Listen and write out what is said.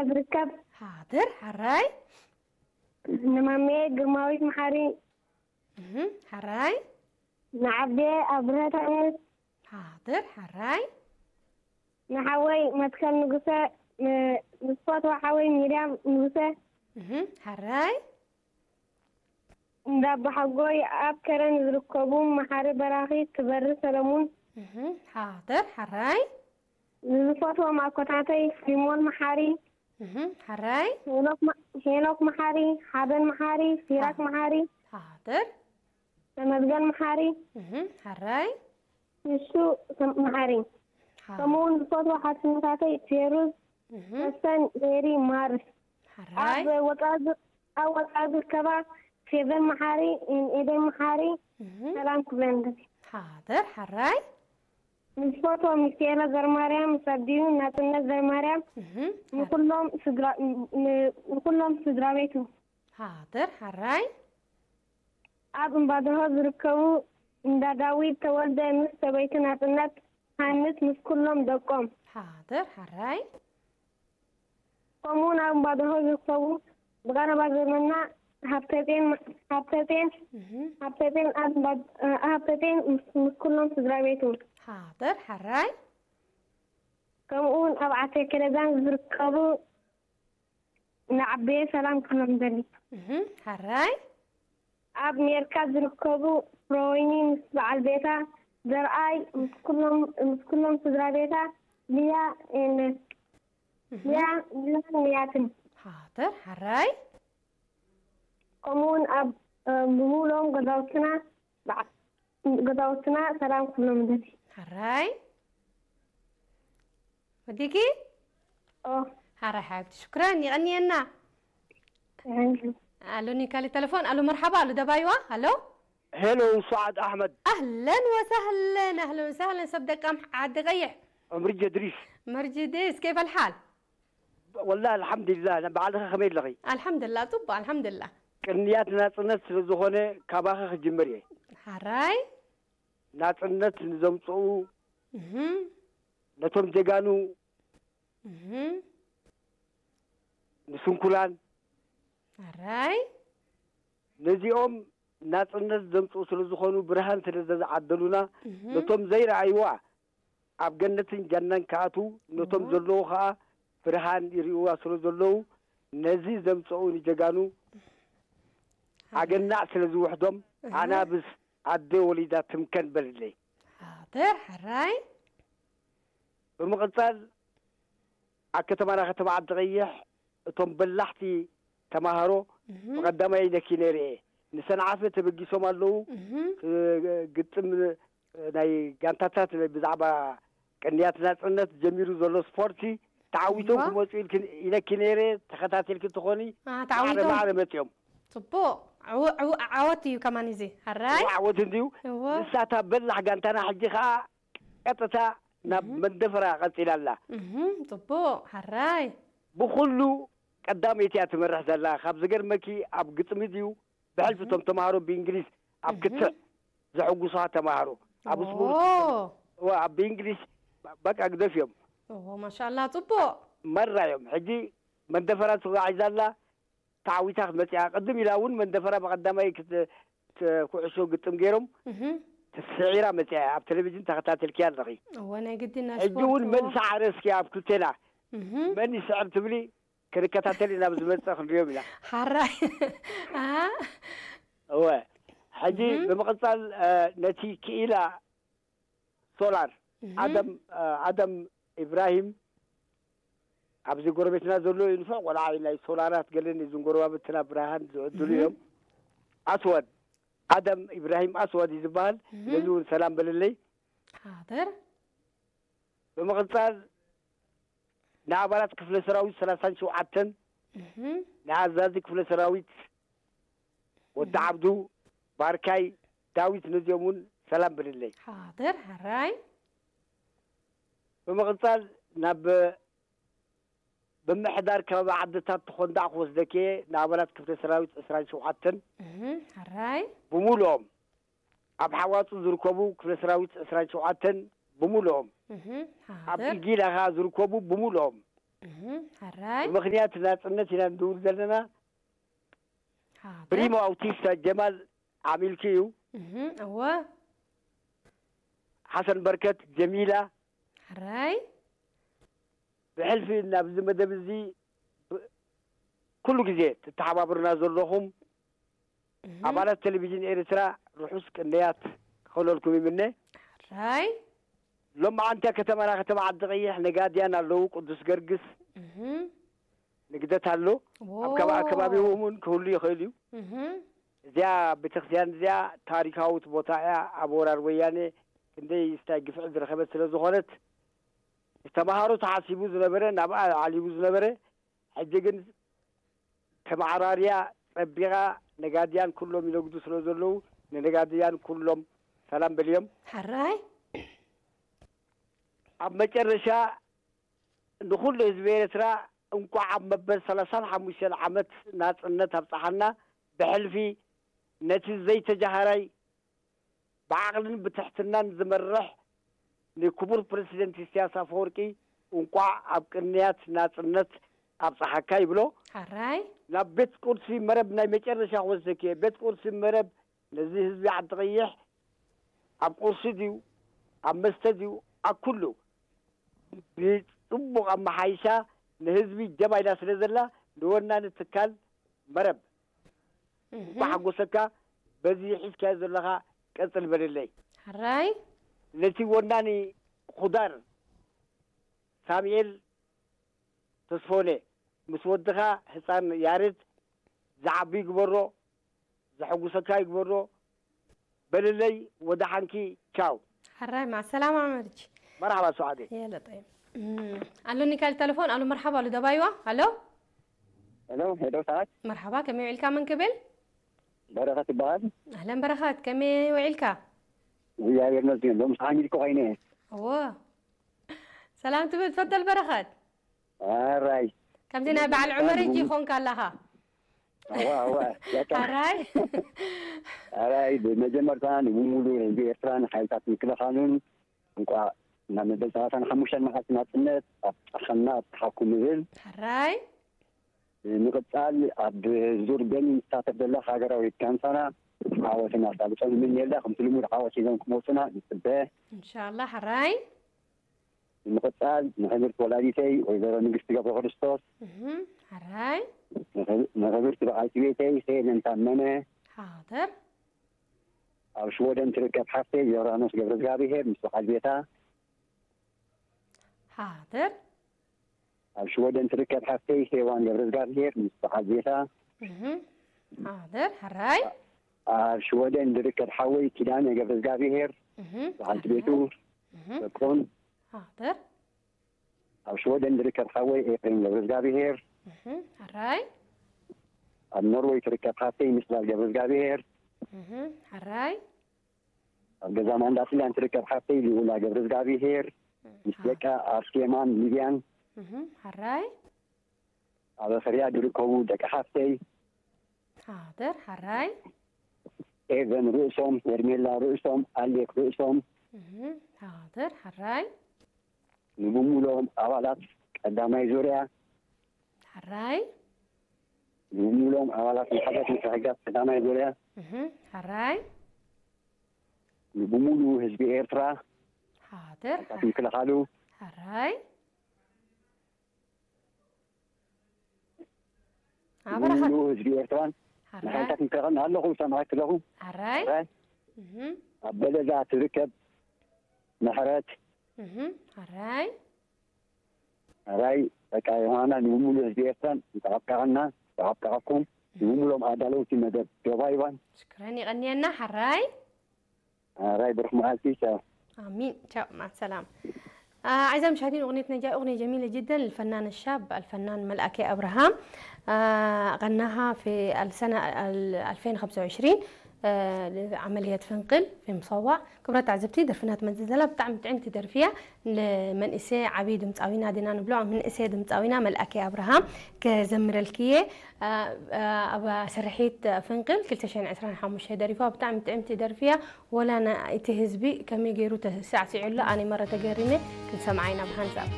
ዝርከብ። ሓድር፣ ሓራይ። ንማሜ ግርማዊት መሓሪ። እህ፣ ሓራይ። ንዓቤ ኣብርሀት ኣምስ። ሓድር፣ ሓራይ። ንሓወይ መትከል ንጉሰ፣ ን-፣ ንዝፈትዋ ሓወይ ሚርያም ንጉሰ። እህ፣ ሓራይ። እንዳባሓጎይ ኣብ ከረን ዝርከቡ መሓሪ በራኺ ክበሪ ሰለሙን። እህ፣ ሓድር፣ ሓራይ። ንዝፈትዎም ኣኮታተይ ፊልሞን መሓሪ። እህ፣ ሓራይ። ሄኖክ መ-፣ ሄኖክ መሓሪ፣ ሓበን መሓሪ፣ ሲራክ ሓ-፣ መሓሪ። ሓድር። ተመስገን መሓሪ። እህ፣ ሓራይ። ንሱ ሰም-፣ መሓሪ። ሓ-፣ ከምኡ እውን ዝፈትዎ ሓትነታተይ ፌሩዝ፣ እህ፣ መሰን፣ ሜሪ፣ ማርስ። ሓራይ። ኣብ ወጻኢ ዝ-፣ ኣብ ወጻኢ ዝርከባ ፌቨን መሓሪ፣ ኤደን መሓሪ፣ እህ፣ ሰላም ክብለን ደሊ። ሓድር፣ ሓራይ። ንዝፈትዎ ሚካኤለ ዘርማርያም፣ ምስ ኣዲኡ ናጽነት ዘርማርያም፣ እህ፣ ሓ-፣ ንኩሎም ስድራ፣ ን-፣ ንኩሎም ስድራ ቤቱ። ሓድር፣ ሓራይ። ኣብ እምባደሆ ዝርከቡ እንዳ ዳዊት ተወልደ ምስ ሰበይቱ ናጽነት ሃንስ ምስ ኩሎም ደቆም። ሓድር፣ ሓራይ። ከምኡ እውን ኣብ እምባደሆ ዝርከቡ ብቐረባ ዘመና ሃብተጼን፣ ሃብተጼን፣ እህ፣ ሃብተጼን ኣብ እምባ-፣ ሃብተጼን ምስ፣ ምስ ኩሎም ስድራ ቤቱ። ሓድር፣ ሓራይ። ከምኡ እውን ኣብ ዓሰ ከለዛን ዝርከቡ ንዓበየ ሰላም ክብሎም ደሊ። እህ፣ ሓራይ። ኣብ ሜርካ ዝርከቡ ፍሮወይኒ ምስ በዓል ቤታ ዘርኣይ ምስ ኩሎም፣ ምስ ኩሎም ስድራ ቤታ ሊያ ኤነ-፣ እህ፣ ሊያ፣ ሊያን ንያትን። ሓድር፣ ሓራይ። ከምኡ እውን ኣብ፣ እ፣ ብምሉኦም ገዛውትና በዓ-፣ ገዛውትና ሰላም ክብሎም ደሊ። ሓራይ። ወዲኪ? ኦ። ሓራይ ሓብቲ፣ ሽኩራን፣ የቐንየና። Thank you። ኣሉኒ ካልእ ተለፎን። ኣሉ መርሓባ፣ ኣሉ ደባይዋ፣ ኣሎ። ሄሎ፣ ሱዓድ ኣሕመድ። ኣህለን ወሳህለን፣ ኣህለን ወሳህለን፣ ሰብ ደቃም ዓዲ ቀይሕ። መርጂ እድሪስ። መርጂ እድሪስ፣ ኬፍ ኣልሓል? ወላ ኣልሓምዱሊላህ፣ ባዕልኸ ከመይ ኣለኺ? ኣልሓምዱሊላህ፣ ጽቡቕ፣ ኣልሓምዱሊላህ። ቅንያት ናጽነት ስለ ዝኾነ ካባኺ ክጅምር እየ። ሓራይ። ናጽነት ንዘምጽኡ፣ እህ። ነቶም ጀጋኑ፣ እህ። ንስንኩላን፣ ሓራይ። ነዚኦም ናጽነት ዘምጽኡ ስለ ዝኾኑ፣ ብርሃን ስለ ዘዝዓደሉና፣ እህ። ነቶም ዘይረኣይዋ ኣብ ገነትን ጀናን ክኣትዉ፣ ነቶም እህ። ዘለዉ ኸኣ ብርሃን ይርእይዋ ስለ ዘለዉ፣ ነዚ ዘምጽኡ ንጀጋኑ ሓራይ። ኣገናዕ ስለ ዝውሕዶም፣ እህ። ኣናብስ ኣደ ወሊዳ ትምከን በልለይ። ሓድር፣ ሓራይ። ብምቕጻል፣ ኣብ ከተማና ከተማ ዓዲ ቀይሕ እቶም በላሕቲ ተማሃሮ እህ። ብቐዳማይ ነኪ ነይረ እየ። ንሰንዓፈ ተበጊሶም ኣለዉ። እህ። እ፣ ግጥም ናይ ጋንታታት ብዛዕባ ቅንያት ናጽነት ጀሚሩ ዘሎ ስፖርቲ ተዓዊቶም እዋ። ክመጹ ኢልኪ፣ ኢለኪ ነይረ። ተኸታቲልኪ ትኾኒ። አ፣ ማዕረ ተዓዊቶም። ማዕረ መጺኦም። ጽቡቕ። ዕው-፣ ዕው-፣ ዓወት እዩ ከማን እዚ። ሓራይ? እዋ፣ ዓወት እንድዩ። እዎ። ንሳ እታ በላሕ ጋንታና ሕጂ ኸኣ ቀጥታ ናብ እህ። መንደፈራ ቀጺላ ኣላ። እህ፣ ጽቡቕ። ሓራይ። ብኹሉ ቀዳመይቲ እያ ትመርሕ ዘላ። ካብ ዝገርመኪ ኣብ ግጥሚ ድዩ ብሕልፊ እህ። እቶም ተማሃሮ ብእንግሊዝ ኣብ እህ። ክትዕ ዘሐጉሱኻ ተማሃሮ። ኣብ ኦ። ስፖርት፣ እዋ፣ ኣብ ብእንግሊዝ በቃ ግደፍ እዮም። ኦ፣ ማሻኣላ፣ ጽቡቕ። መራ እዮም። ሕጂ መንደፈራ ተጓዒዛ ኣላ። ተዓዊታ ክትመጽእ እያ። ቅድም ኢላ እውን መንደፈራ ብቐዳማይ ክት-፣ ት-፣ ኩዕሾ ግጥም ገይሮም እህ። ስዒራ መጽኣ እያ። ኣብ ቴሌቪዥን ተኸታተልክያ ኣለኺ። እወ፣ ናይ ግድን ናይ ሕጂ ስፖርት፣ እውን እዎ። መን ሰዓረ እስኪ ኣብ ክልቴና? እህ። መን ይስዕር ትብሊ? ክንከታተል ኢና፣ ኣብ ዝመጽእ ክንሪኦም ኢና። ሓራይ። ኣ? እወ። ሕጂ እህ። ብምቕጻል፣ እ፣ ነቲ ክኢላ ሶላር፣ እህ። ኣደም፣ እ፣ ኣደም ኢብራሂም፣ ኣብዚ ጎረቤትና ዘሎ እዩ፣ ንፉዕ ቆልዓ እዩ፣ ናይ ሶላራት ገለን እዞም ጎረባብትና ብርሃን ዝዕድሉ እህ። እዮም። ኣስወድ፣ ኣደም ኢብራሂም ኣስወድ እዩ ዝበሃል። እህ። ነዚ እውን ሰላም በልለይ። ሓደር። ብምቕጻል፣ ንኣባላት ክፍለ ሰራዊት ሰላሳን ሸውዓተን፣ እህ። ንኣዛዚ ክፍለ ሰራዊት ወዲ እህ። ዓብዱ፣ ባርካይ፣ ዳዊት፣ ነዚኦም እውን ሰላም በልለይ። ሓደር፣ ሕራይ። ብምቕጻል፣ ናብ ብምሕዳር ከባቢ ዓድታት ተኾንዳዕ ክወስደኪ እየ፣ ንኣባላት ክፍለ ሰራዊት ዕስራን ሸውዓተን። እህ፣ ሕራይ። ብምሉኦም፣ ኣብ ሓዋጹ ዝርከቡ ክፍለ ሰራዊት ዕስራን ሸውዓተን ብምሉኦም፣ እህ፣ ኣብ ሓደር። ኢጊላ ኸኣ ዝርከቡ ብምሉኦም፣ እህ፣ ሕራይ። ብምኽንያት ናፅነት ኢና ንድውል ዘለና። ሓደር። ፕሪሞ ኣውቲስታ ጀማል ዓሚልኪ እዩ። እህ፣ እወ። ሓሰን በርከት፣ ጀሚላ፣ ሕራይ። ብሕልፊ ናብዚ መደብ እዚ ብ- ኩሉ ግዜ ትተሓባብሩና ዘለኹም እህ፣ ኣባላት ቴሌቪዥን ኤርትራ ርሑስ ቅንያት ክኸለልኩም ይምነ። ሕራይ። ሎማዓንቲ ከተማና ከተማ ዓዲ ቀይሕ ነጋድያን ኣለዉ። ቅዱስ ገርግስ እህ፣ ንግደት ኣሎ። ኣብ ከባ ዎ። ኣከባቢኡ እውን ክህሉ ይኽእል እዩ። እህ፣ እዚኣ ቤተክርስትያን እዚኣ ታሪካዊት ቦታ እያ። ኣብ ወራር ወያኔ ክንደይ ስታይ ግፍዒ ዝረኸበት ስለ ዝኾነት፣ ንተምሃሮ ተሓሲቡ ዝነበረ፣ ናብኣ ዓሊቡ ዝነበረ፣ ሕጂ ግን ተመዓራርያ ጸቢቓ፣ ነጋድያን ኩሎም ይነግዱ ስለ ዘለዉ፣ ንነጋድያን ኩሎም ሰላም በልዮም። ሕራይ። ኣብ መጨረሻ ንኹሉ ህዝቢ ኤርትራ እንቋዕ ኣብ መበል ሰላሳን ሓሙሽተን ዓመት ናጽነት ኣብጽሓና። ብሕልፊ ነቲ ዘይተጃሃራይ ብዓቕልን ብትሕትናን ዝመርሕ ንክቡር ፕረሲደንት ኢሳያስ ኣፈወርቂ እንቋዕ ኣብ ቅንያት ናጽነት ኣብጽሓካ ይብሎ። ሕራይ። ናብ ቤት ቁርሲ መረብ ናይ መጨረሻ ክወስደኪ እየ። ቤት ቁርሲ መረብ ነዚ ህዝቢ ዓዲ ቀይሕ ኣብ ቁርሲ ድዩ ኣብ መስተ ድዩ ኣብ ኩሉ ብጽቡቕ ኣመሓይሻ ንህዝቢ ጀባ ኢላ ስለ ዘላ ንወናኒ ትካል መረብ እህ፣ እንኳ ሓጎሰካ። በዚ ሒዝካዮ ዘለኻ ቀጽል በልለይ። ሕራይ። ነቲ ወናኒ ኹዳር ሳሙኤል ተስፎነ ምስ ወድኻ ህፃን ያሬድ ዝዓቢ ይግበሮ፣ ዘሐጉሰካ ይግበሮ በልለይ። ወደሓንኪ ቻው። ሕራይ፣ ማዕ ሰላማ መርጂ። መርሓባ ሰዓደ። የለ ጠይብ። እም፣ ኣሎኒ ካልእ ተለፎን። ኣሉ መርሓባ፣ ኣሉ ደባይዋ። ኣሎ። ሄሎ፣ ሄሎ፣ ሰዓት መርሓባ፣ ከመይ ውዒልካ? መን ክብል? በረኸት ይበሃል። ኣህለን በረኸት፣ ከመይ ውዒልካ? እግዚኣብሔር ይመስገን። ሎም ሰዓት ኢልኩ ኮይነ። እዎ። ሰላም ትብል ትፈተል በረኸት? ኣራይ። ከምዚ ናይ በዓል ዑመር እጂ ይኾንካ ኣለኻ። ኣዋ፣ ኣዋ፣ ያታ። ኣራይ። ኣራይ፣ ብመጀመርታ ንብሙሉ ህዝቢ ኤርትራን ሓይልታት ምክልኻሉን እንቋዕ ናብ መበል ሰላሳን ሓሙሽተን መዓልቲ ናጽነት ኣብጽሓና ኣብጽሓኩም እብል። ኣራይ። ንምቕጻል ኣብ ዙር በርሊን ዝሳተፍ ዘሎ ሃገራዊ ጋንታና ዓወት እናሳልጦ ንምንየላ፣ ከምቲ ልሙድ ዓወት ሒዞም ክመጹና ንጽበ። እንሻላ፣ ሕራይ። ንምቕጻል ንክብርቲ ወላዲተይ ወይዘሮ ንግስቲ ገብረ ክርስቶስ፣ እህም፣ ሕራይ። ንክብ-፣ ንክብርቲ በዓልቲ ቤተይ ሄለን ታመነ፣ ሓደር። ኣብ ሽወደን ትርከብ ሓፍተይ ዮራኖስ ገብረ እግዚኣብሄር ምስ በዓል ቤታ፣ ሓደር። ኣብ ሽወደን ትርከብ ሓፍተይ ሄዋን ገብረ እግዚኣብሄር ምስ በዓል ቤታ፣ እህም፣ ሓደር፣ ሕራይ። ኣብ ሽወደን ዝርከብ ሓወይ ኪዳነ ገብረ እግዚኣብሄር እህም፣ በዓልቲ ቤቱ እህም፣ ደቆን፣ ሓደር። ኣብ ሽወደን ዝርከብ ሓወይ ኤፍሬም ገብረ እግዚኣብሄር፣ እህም፣ ሕራይ። ኣብ ኖርወይ ትርከብ ሓፍተይ ምስላል ገብረ እግዚኣብሄር፣ እህም፣ ሕራይ። ኣብ ገዛ ማንዳስላን ትርከብ ሓፍተይ ልኡላ ገብረ እግዚኣብሄር ምስ ደቃ ኣርሴማን ሊብያን፣ እህም፣ ሕራይ። ኣብ ሪያድ ዝርከቡ ደቂ ሓፍተይ ሓደር፣ ሕራይ። ኤቨን ርእሶም፣ ሄርሜላ ርእሶም፣ ኣሌክ ርእሶም፣ እህም፣ ሓደር፣ ሕራይ። ንብሙሉኦም ኣባላት ቀዳማይ ዙርያ፣ ሕራይ። ንብሙሉኦም ኣባላት ማሕበር ምትሕግጋዝ ቀዳማይ ዙርያ፣ እህም፣ ሕራይ። ንብሙሉ ህዝቢ ኤርትራ፣ ሓደር፣ ሓይልታት ምክልኻሉ፣ ሕራይ። ኣበረኸት። ንብሙሉ ህዝቢ ኤርትራን ሕራይ። ንሓይልታት ምክልኻልን ኣለኹ፣ ሰማዕኪ ኣለኹ። ሕራይ። ሕራይ። እህም፣ ኣብ በለዛ ትርከብ ምሕረት፣ እህም፣ ሕራይ። ሕራይ። በቃ ዮሃና ንብሙሉ ህዝቢ ኤርትራን እንተዓብቃዓና፣ እንተዓብቃዓኩም፣ ንብሙሎም ኣዳለውቲ መደብ ዶባይባን። ሽክረን፣ ይቐንየና፣ ሕራይ። ሕራይ፣ ብሩኽ መዓልቲ፣ ቻው። آمين. تشاو، مع السلامة. آه، أعزائي المشاهدين، أغنيتنا جاية أغنية جميلة جدا للفنان الشاب الفنان ملأكي أبراهام. آه، غناها في السنة ال-، ألفين وخمسة وعشرين، آه، لعملية فنقل في مصوع. ክቡራት ተዓዘብቲ፣ ደርፍና ትመጽእ ዘላ ብጣዕሚ ጥዕምቲ ደርፊ እያ። ንመንእሰይ ዓብዪ ድምፃዊና ዲና ንብሎ፣ መንእሰይ ድምፃዊና መልኣከ ኣብርሃም ክዘምረልኪ እየ። አ፣ አ፣ ኣብ ስርሒት ፍንቅል ክልተ ሽሕን ዕስራን ሓሙሽተ ደሪፋ፣ ብጣዕሚ ጥዕምቲ ደርፊ እያ። ወላ ና-፣ እቲ ህዝቢ ከመይ ገይሩ ተሳዕሲዑ ኣሎ፣ ኣነ መረ ተገሪመ። ክንሰምዓ ኢና ብሓንሳብ።